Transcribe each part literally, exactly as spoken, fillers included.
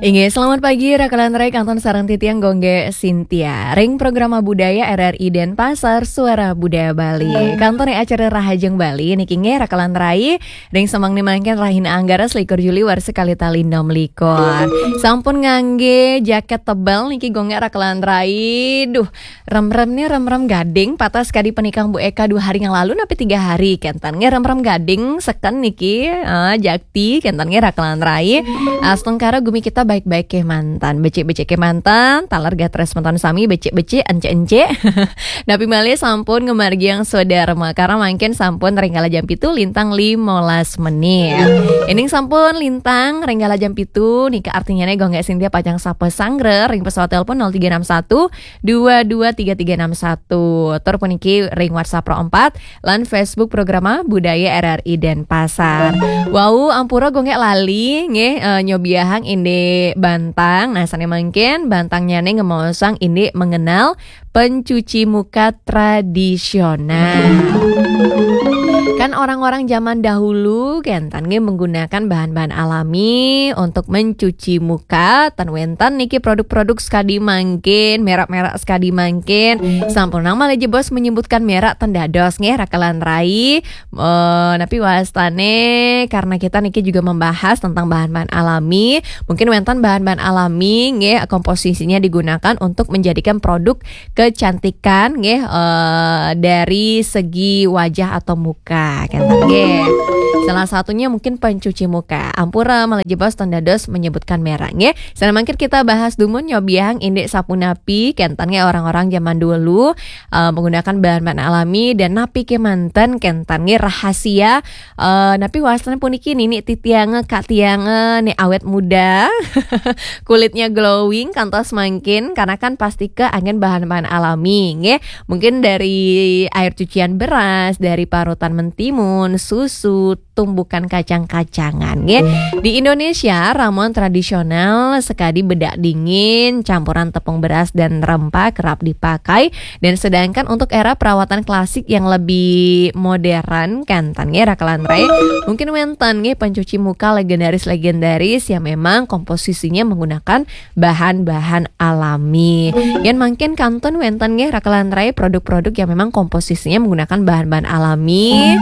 Inggih, selamat pagi, Raka lan Rai, kantun sareng titiang Gung Gé Sintia. Ring programa budaya R R I Denpasar, Suara Budaya Bali. Kantun ring acara Rahajeng Bali niki nggih, Raka lan Rai. Ring semeng mangkin rahina Anggara selikur Juli warsa kalih tali enam likur. Sampun nganggé jakét tebel niki Gung Gé, Raka lan Rai. Duh, remrem nih, remrem gading, pateh sekadi penikang Bu Eka dua hari yang lalu, napi tiga hari, kénten nggih remrem gading, seken niki, eh, jakti, kénten nggih Raka lan Rai. Astungkara gumi kita baik-baik kémanten, becik-becik kémanten, taler gatra semeton sami becik-becik, encik-encik. Napi malih sampun ngamargiang swadarma, karena mangkin sampun ring kala jam pitu lintang limolas menit. Ining sampun lintang ring kala jam pitu, nika artinyané Gung Gé Sintia pacang sapa sanggra ring pesawat telepon nol tiga enam satu, dua dua tiga tiga enam satu. Tur puniki ring WhatsApp Pro empat lan Facebook Programa Budaya R R I Denpasar. Wau, ampura Gung Gé lali nggih, eh, nyobiahang indik bantang. Nah, sané mangkin bantangnyané ngemaosang indik mengenal pencuci muka tradisional. Kan orang-orang zaman dahulu kénten nggih menggunakan bahan-bahan alami untuk mencuci muka, tan wénten niki produk-produk sekadi mangkin, merek-merek sekadi mangkin. Sampun nang malih jebos menyebutkan merek, tan dados nggih Raka lan Rai. Eh, napi wastané, karena kita niki juga membahas tentang bahan-bahan alami. Mungkin wénten bahan-bahan alami nggih, komposisinya digunakan untuk menjadikan produk kecantikan nggih, eh, dari segi wajah atau muka, kénten nggih. Salah satunya mungkin pencuci muka. Ampura malih jebos tan dados menyebutkan merek nggih. Sané mangkin kita bahas dumun nyobiahang indik sapunapi, kénten nggih orang-orang zaman dulu, eh, menggunakan bahan-bahan alami dan napi kémanten, kénten nggih rahasia, eh, napi wastané puniki nini titiangé, kak tiangé, nih awet muda, kulitnya glowing kantos mangkin, karena kan pastika anggén bahan-bahan alami, nggih. Mungkin dari air cucian beras, dari parutan mentimun, susu, tumbukan kacang-kacangan, nggih. Di Indonesia, ramuan tradisional sekadi bedak dingin, campuran tepung beras dan rempah kerap dipakai. Dan sedangkan untuk era perawatan klasik yang lebih modern, kénten nggih Raka lan Rai, mungkin wénten nggih pencuci muka legendaris-legendaris yang memang komposisinya menggunakan bahan-bahan alami. Yén mangkin kantun wénten nggih Raka lan Rai produk-produk yang memang komposisinya menggunakan bahan-bahan alami.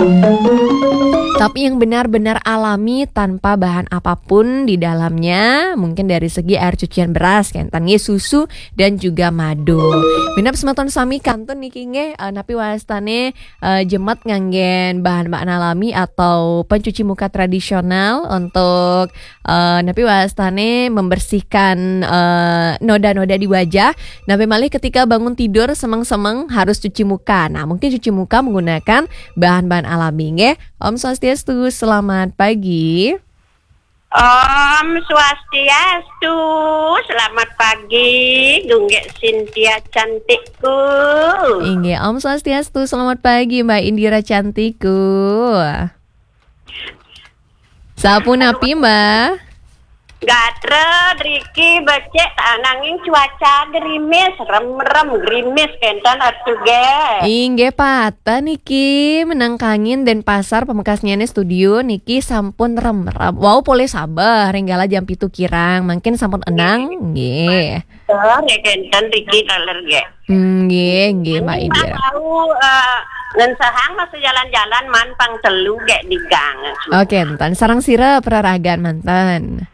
Tapi yang benar-benar alami tanpa bahan apapun di dalamnya, mungkin dari segi air cucian beras, kénten nggih susu dan juga madu. Minab semeton sami kantun niki nggih, eh, napi wastané, eh, jemet nganggén bahan-bahan alami atau pencuci muka tradisional untuk, eh, napi wastané membersihkan, eh, noda-noda di wajah. Napi malih ketika bangun tidur semeng-semeng harus cuci muka. Nah, mungkin cuci muka menggunakan bahan-bahan alami nggih. Om Swastiastu, selamat pagi. Om Swastiastu, selamat pagi, Gung Gé Sintia cantikku. Inggih, Om Swastiastu, selamat pagi Mbak Indira cantikku. Sapunapi, Mbak? Gatra driki becik, ah, nanging cuaca gerimis, remrem gerimis kénten atuh gé. Inggih, pateh niki meneng kangin Denpasar, pamekasnyané studio niki sampun remrem. Wau polih sabeh ring kala jam pitu kirang, mangkin sampun enang, nggih. Sore kénten driki taler gé. Nggih, nggih, Mbak Indira. Tahu, eh, ngensehang masih jalan-jalan man pang telu gé di gang. Oh, kénten. Sareng sira peraragan manten?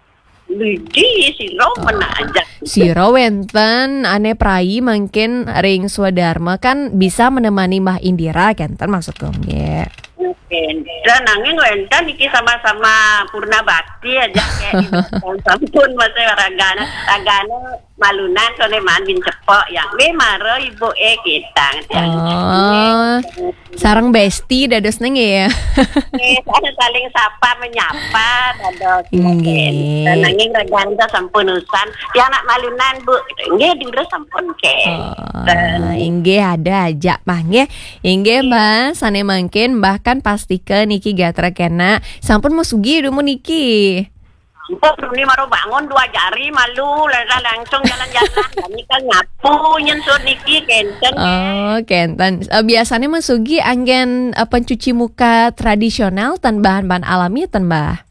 Lidi sira menajak. Sira wénten ané prai mangkin ring swadarma kan bisa menemani Mbah Indira, kénten maksud Gung Gé. Kénten, nanging wénten iki sama-sama purna bakti aja kayak sampun masa ragana, ragana malunan soné man bin cepok yang, "Wé mara ibu é kitang." Oh, sareng besti dados neng ya. Eh, saling sapa menyapa dados. Nggih. Dan nanging ragana sampun usan, "Ya anak malunan, Bu." Nggih, dulu sampun ke. Oh, inggih ada aja mah nggih. Inggih, Mbah, sané mangkin Mbah kan pastika niki gatra kena. Sampun masugi dumun niki? Sampun, ini maro bangun dua jari malu, lah langsung jalan-jalan. Kami kan nyapu nyen sur niki kénten. Oh, kénten. Eh, biasanya masugi anggén, eh, pencuci muka tradisional tan bahan-bahan alami tan, Mbah?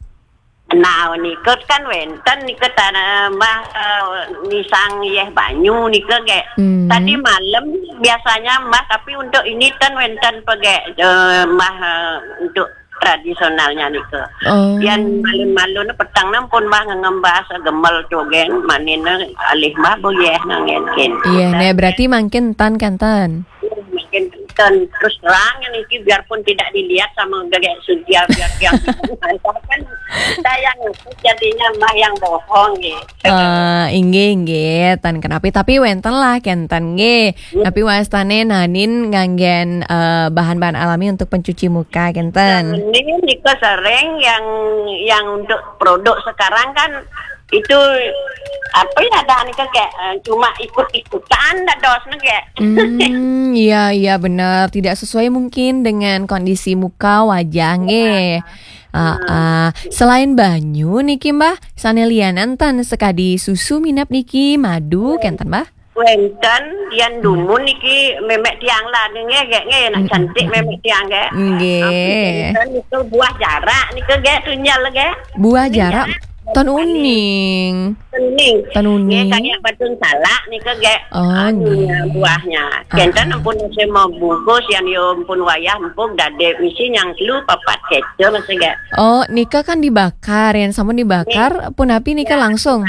Nah, nika kan wenten nika tanah Mbah, eh, nisang yeh banyu nika, gek. Hmm. Tadi malam biasanya Mbah, tapi untuk ini ten wenten pegek, eh, Mbah, eh, untuk tradisionalnya nika. Oh. Yan malun-malun petang nang pun Mbah ngembas gemel cogen, manina alih Mbah boyeh nangen kin. Iya, nah, berarti mangkin tan kan, tan? Mungkin, dan terus terang niki, biarpun tidak dilihat sama gagek sudia, biar yang kan kita yang ngaku jadinya Mbah yang bohong gitu. Eh, inggih, inggih, tan kenapi, tapi wenten lah kenten nggih. Iya. Tapi wastane nanin nganggen, eh, bahan-bahan alami untuk pencuci muka kenten. Nah, ini nika sering yang, yang untuk produk sekarang kan itu apa ya, ada nika kayak, eh, cuma ikut-ikutan dah dos nika. Hmm, iya, iya, bener. Tidak sesuai mungkin dengan kondisi muka wajah nggih. Ah, ah. Selain banyu niki, Mbah, sane lianan tan sekadi susu minap niki, madu kenten, Mbah? Wenten, yan dumun niki memek tiang lah nggih, gek nggih, nak cantik memek tiang, gek. Nggih. Wenten itu buah jarak nika, gek, tunjel, gek. Buah jarak? Tan uning. Uning. Tan uning. Nggih, kayak batun salak nika, gek. Oh, anu, nggih. Buahnya. Ah, kenten ah. Ampun saya mau bungkus, yang yo ampun wayah empuk, dade misi yang telu papat kecil masih, gek. Oh, nika kan dibakar, yang sampun dibakar, nggih. Punapi nika ya, langsung?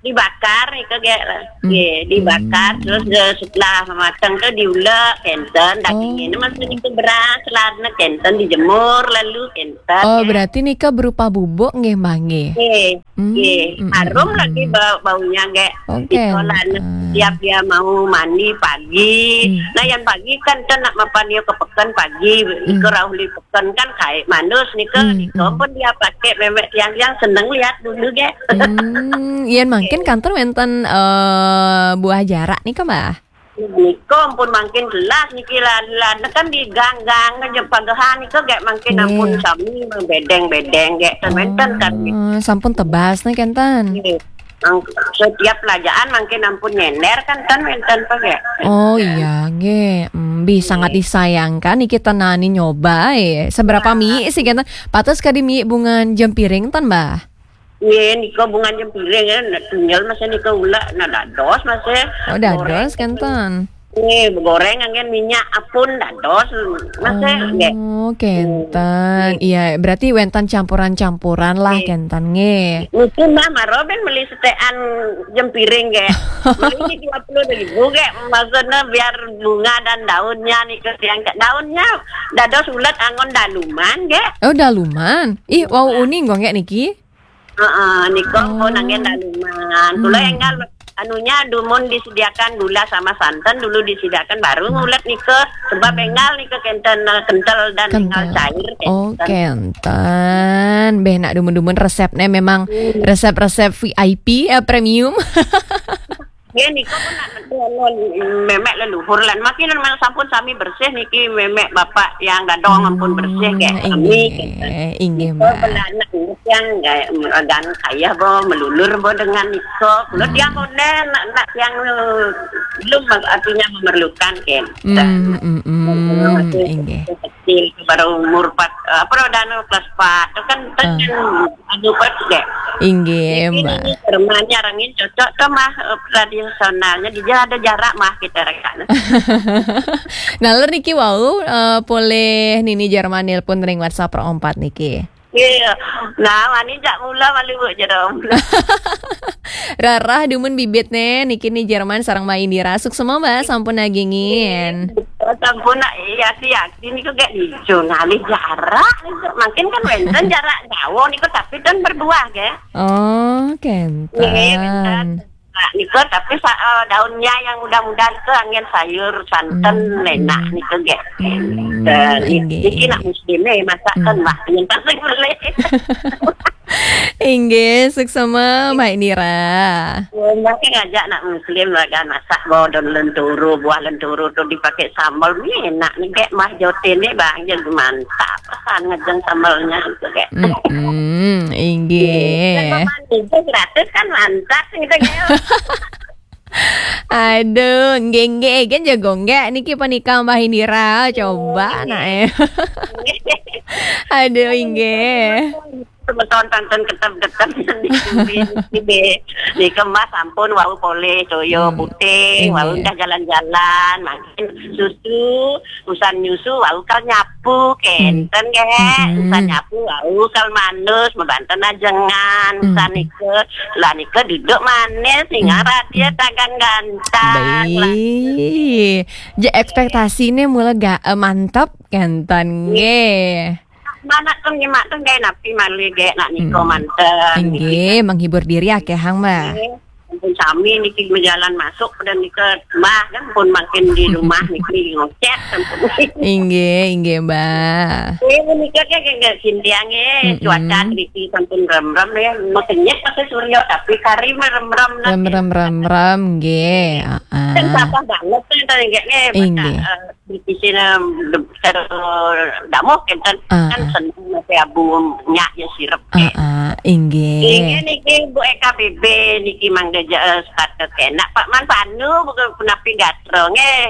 Dibakar nika, gek. Hmm. Nggih, dibakar, hmm, terus, eh, setelah matang tuh diulek, kenten, dagingnya ini masih nika beras, ladna kenten, dijemur, lalu kenten. Oh, ya. Berarti nika berupa bubuk nggih, Mbah, nggih? Nggih, hmm, nggih. Hmm, harum hmm, lagi hmm. Bau-, baunya, gek. Oke. Nika ladna, hmm, setiap dia mau mandi pagi. Hmm. Nah, yang pagi kan ten nak mapan dia ke peken pagi, hmm, nika rauh li peken kan kayak manus nika, hmm, nika, hmm, pun dia pakai memek tiang-tiang seneng lihat dulu, gek. Hmm, yen mangkin kanten wenten, eh, buah jarak nika, Mbah? Nika ampun mangkin jelas niki lah, lah kan digang-gang aja pagehan nika, gek, mangkin ampun sami bedeng-bedeng, gek, ten wenten kan. Oh, sampun tebas nih kenten. Nggih. Ang-, setiap pelajaan mangkin ampun nyender kan, ten wenten apa, gek. Oh iya, nggih. Hmm, bi sangat disayangkan niki tenani nyoba, eh. Seberapa mi sih kenten? Patus kadi mi bungan jempiring ten, Mbah? Nggih, nika bungan jempiring, ya, nak tunjel masih nika ulek, nak dados masih. Oh, dados kenten. Nggih, goreng angin minyak apun dados masih, nggih. Oh, kenten. Nggih. Iya, berarti wenten campuran-campuran lah kenten, nggih. Niki mah maro ben meli setekan jempiring, nggih. Meli dua puluh ribu, nggih. Maksudnya biar bunga dan daunnya nika tiang, daunnya dados ulek anggon daluman, nggih. Oh, daluman. Ih, wau uning kok, nggih, niki. Heeh, nika pun angin daluman. Kula enggal anunya dumun disediakan gula sama santan dulu disediakan, baru ngulet nika. Sebab enggal nika kenten, eh, kental dan enggal cair kenten. Oh, kenten. Beh, nak dumun-dumun resepnya memang resep-resep V I P, eh, premium. Nggih, nika pun nak, anu, memek leluhur lan. Mangkin sampun sami bersih niki, memek bapak yang dadong ampun bersih, nggih. Sami, inggih, kenten. Inggih, nika Mbak. Belanak yang nggih, regan kaya bo, melulur bo dengan nika. Kula tiang konden, nak, nak yang belum artinya memerlukan, kenten. Hmm, hmm, hmm, inggih. Kecil, baru umur empat, eh, apa, udah anu, kelas empat. Itu kan, kan anu, pas, dek. Inggih, Mbak. Ini Jermannya, rangin cocok tuh, mah, eh, tradisionalnya. Dia ada jarak, mah, kita rekan. Nah, ler niki wau, eh, poleh nini Jerman nelpon ring WhatsApp rompat niki. Iya. Nah, wani jak mula malu, Bu, Jerman. Rarah dumun bibit ne, niki ni Jerman sareng Mbak Indira. Suksema, Mbak, sampun nagingin. Sampun, nak, iya, siap. Ini kok kayak hijau ngalih jarak. Mungkin kan wenten jarak jauh niku, tapi kan berbuah, ya. Oh, kenten. Iya, wenten. Nah, niku tapi sa-, eh, daunnya yang muda-muda niku angin sayur, santen, enak niku, nggih. Nggih. Niki nak muslim, eh, masakan, wah, yang tak boleh. Inggih, suksema, Mbak Indira. Ya, Mbak, kan ngajak nak muslim, lah, kan, masak bo daun lenturu, buah lenturu tuh dipakai sambal, ini enak nih, kayak mah jote nih, Bang, jadi mantap. Pesan ngejeng sambalnya itu, kayak. Mm-mm, inggih. Kan manis, gratis kan, mantap gitu, kayak. Aduh, nggih, nggih, kan jago nggak niki penikah Mbak Indira, coba nak, eh. Aduh, inggih. Semeton tenten ketep-ketep niki, niki, niki Mbah sampun wau polih toya putih, wau endah jalan-jalan, mangkin susu, usan nyusu wau kal nyapu, kenten nggih. Usan nyapu wau kal manus, mebanten ajengan, usan nika, lah nika duduk manis, singa radia tagan gantang. Baik. Je ekspektasine mula ga, eh, mantep, kenten nggih. Manak tun nyemak tun gae napi malih gae nak nika manten. Inggih, menghibur diri akehang, Mbah. Nggih. Ampun sami niki bejalan masuk pada nika Mbah kan pun makin di rumah niki ngocet sampun. Inggih, inggih, Mbah. Eh, menika ke ke sintiang eh cuaca niki sampun rem-rem ya. Maksudnya pakai surya tapi kari mah rem-rem nah. Rem-rem, rem-rem, nggih. Heeh. Kan sampah banget tuh tadi nggih, nggih, inggih. Di sini damuh kenten kan seneng masih abu nyak ya sirep. Ah, ah, inggih. Inggih niki Bu E K B B niki mangga je, eh, start ke kenak Pak Man Panu bukan penapi gatra nggih.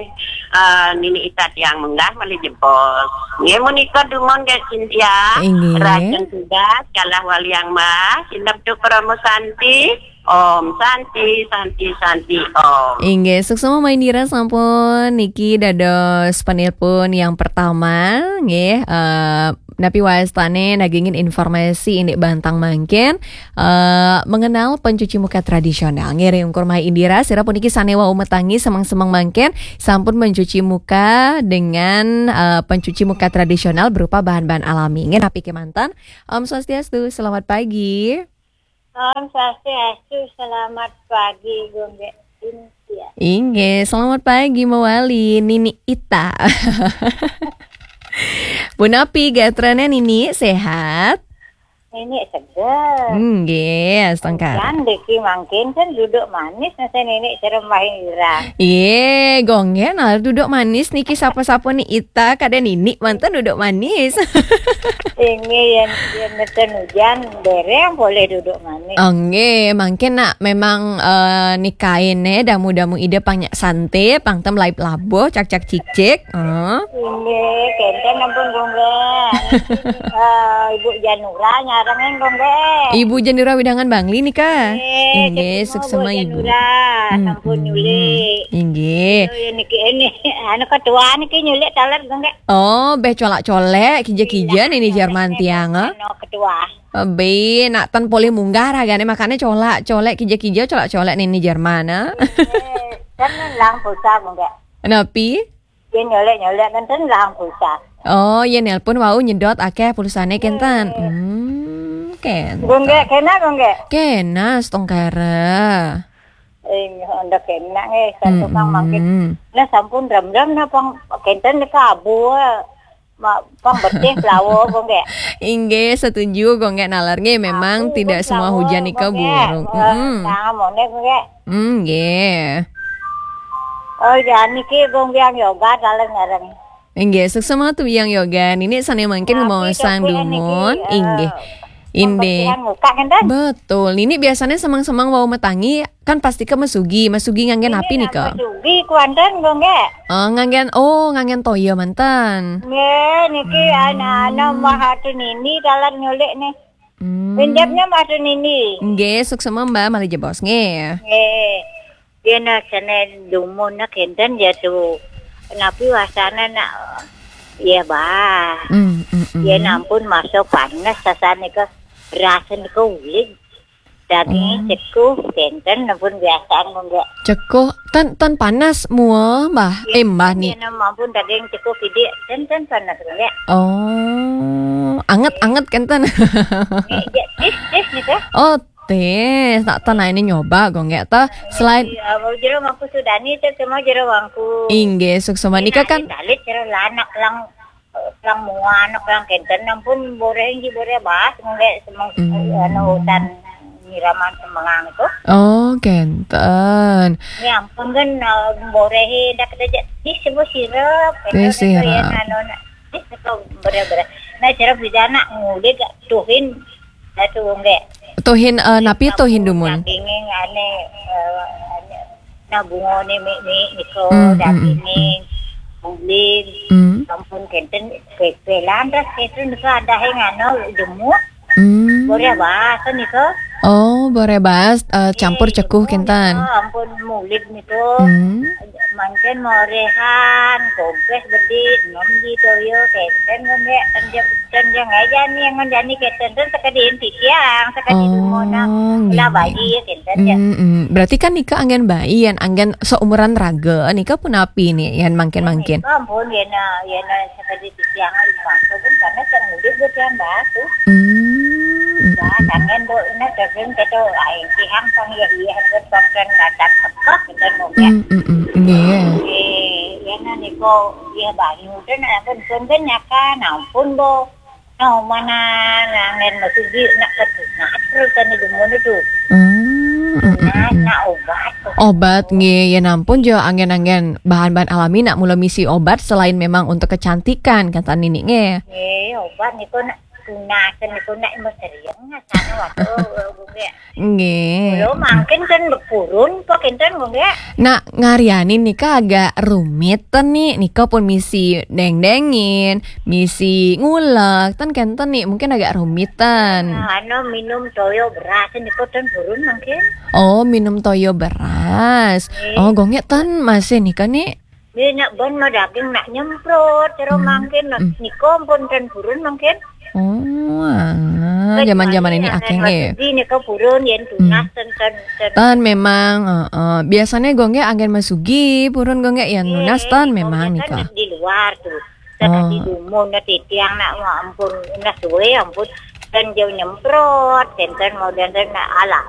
Eh, nini ita tiang menggah malih jebos. Nggih menika dumun nggih Cynthia. Inggih. Rajan tugas kalah waliang mah sinep tu Parama Santi. Om Santi, Santi, Santi, Om. Inggih, suksma Mbah Indira sampun niki dados penelpon yang pertama, nggih, eh, napi wastane nagingin informasi indik bantang mangkin, eh, mengenal pencuci muka tradisional. Nggih, ring ungkur Mbah Indira, sira puniki sane wau metangi semeng-semeng mangkin sampun mencuci muka dengan, eh, pencuci muka tradisional berupa bahan-bahan alami. Nggih, napi kemanten? Om Swastiastu, selamat pagi. Om Swastiastu, selamat pagi, Gung Cynthia. Inggih, selamat pagi, Mbah Wali, Nini Ita. Punapi gatrane Nini, sehat? Nini seger. Inggih, astungkara. Kan diki mangkin kan duduk manis nasa Nini cerem wahing irang. Iye, gonggen, nah, duduk manis niki sapa-sapa ni Ita, kada Nini manten duduk manis. Inggih, yen, yen mesen hujan, dereng boleh duduk manis. Oh, nggih, mangkin nak memang, eh, nikaine damu-damu ida pang nyak sante, pang tem laib labuh, cak-cak cicik. Heeh. Inggih, kenten ampun, Gung, nggih. Eh, Ibu Janura nyarengin, Gung, nggih. Ibu Janura Widangan Bangli nika? Nggih, inggih, suksma, suksma, Ibu. Janura, sampun nyulik. Inggih. Aduh, ya niki, ini, anu ketua niki nyulik taler, Gung, nggih. Oh, beh colak-colek, kija-kija nini Jerman tiang, eh? Anu ketua. Be, nak tan polih munggah ragane makane colak-colek, kija-kija colak-colek nini Jerman, eh? Eh, kan lang pulsa, Gung, nggih. Napi? Yen nyolek-nyolek kan ten lah pulsa. Oh, yen nelpon wau nyedot akeh pulsane kenten. Hmm, kenten. Gung, nggih, kena, Gung, nggih. Kena, astungkara. Eh, nggih, anda kena, nggih, santu kang mangkin. Nah, sampun rem-rem nah pang kenten nika abu. Ma, pang betih pelawa, Gung, nggih. Inggih, setuju, Gung, nggih, nalar. Nggih, memang tidak semua hujan nika buruk. Abu, Gung, nggih. Eh, tangan mone, Gung, nggih. Hmm, nggih. Oh, ya, niki Gung Biang Yoga, taler nyareng. Inggih, suksma tu Biang Yoga. Nini sane mangkin ngemaosang dumun. Inggih. Inggih. Betul. Nini biasane semeng-semeng wau metangi, kan pasti ke mesugi. Mesugi nganggen api nika? Mesugi kuanten, Gung, nggih. Oh, nganggen, oh, nganggen toya manten. Nggih, niki anak-anak Mbah Atu Nini taler nyulik nih. Hmm. Pinjamnya Mbah Atu Nini. Nggih, suksma, Mbah, malih jebos, nggih. Nggih. Yen sane dumun nak enten ya tu. Napi wasana nak, ya, Bah. Hmm, hmm, hmm. Yen ampun masa panas sasane ke rasa nika uling. Daging cekuh, kenten ampun biasaan, Gung, nggih. Cekuh, tan, tan panas mua, Mbah. Eh, Mbah ni. Yen ampun daging cekuh kidik, kenten panas, Gung, nggih. Oh, anget-anget kenten. Nggih, tis, tis nika. Oh, tis, tak tan ini nyoba, Gung, nggih. Toh, selain iya, mau jero mangku sudani, cek semua jero mangku. Inggih, suksma nika kan. Talit jero lanak lang, lang muan, lang kenten, ampun boreh inji boreh bahas, nggih, semeng, anu, hutan nyiraman semengang itu. Oh, kenten. Ya ampun, kan, eh, borehe dak kerja. Ih, semua sirep. Ih, sirep. Anu, anu, ih, itu bener-bener. Nah, sirep di sana, ngulik, tuhin, satu, nggih. Tuhin, eh, napi tuhin dumun? Dagingnya, ane, eh, ane, nah, bungone mi, mi, niko, dagingnya, ulin, ampun, kenten, pepelan, terus kenten, niko ada yang anu, jemur. Hmm. Boreh baas nika. Oh, boreh baas, eh, campur cekuh kinten. Oh, ampun mulid nika. Hmm. Mangkin morehan, gogeh bedit, nom ji toya, kinten ngon dek, kan jeng, kan jeng aja nih, ngon jani kinten, ten sakadi titiang, sakadi. Oh, dumona. Nggih, lah nggih. Bayi, kinten ya. Hmm, hmm. Berarti kan nika anggen bayi, yen anggen seumuran raga, nika punapi nih, yen mangkin-mangkin? Nika ampun, yen, yen sakadi titiang, masa pun karena sang mulid buat yang batu. Hmm, hmm, hmm. Anggen do, ina terjun kita, ai, tihang sang ya, iya, buat pakan datang tepuk, kinten ngon dek. Hmm, hmm, hmm. Nggih. Eh, yen nika, iya, bayi, udah, nah, ampun, pun, pun, nyakan, ampun, bo. Nah, mana, nah, anggen masugi, nak ketu, nak terus kan itu, ngono tu. Hmm, hmm, hmm, nah, hmm. Nak obat tu. Obat, nggih, yen ampun jo anggen-anggen bahan-bahan alami nak mula misi obat selain memang untuk kecantikan, kata nini, nggih. Nggih, obat niku nak tunas, niku nak meserian, sana waktu, nggih. Nggih. Lho, mangkin kan purun, apa kinten, nggih? Nak ngariani nika agak rumit ten nih, nika pun misi deng-dengin, misi ngulek, ten kinten nih, mungkin agak rumit ten. Nah, anu minum toya beras, nika ten purun mangkin. Oh, minum toya beras. Nggih. Oh, gong nggih ten masih nika nih. Nggih, nak ban mah daging nak nyemprot, cara. Hmm. Mangkin, nah, hmm. Nika pun ten purun mangkin. Oh, alah, zaman-zaman ini akeh nggih. Masugi nika purun, yen tunas, hmm. Ten, ten, ten. Ten memang, heeh. Biasanya gong nggih anggen masugi, purun gong nggih yen nunas ten memang nika. Kan di luar tu. Ten di dumun, nah titiang nak, wah, ampun, nah suwe, ampun. Ten jauh nyemprot, ten, ten mau, ten, ten, nak alah.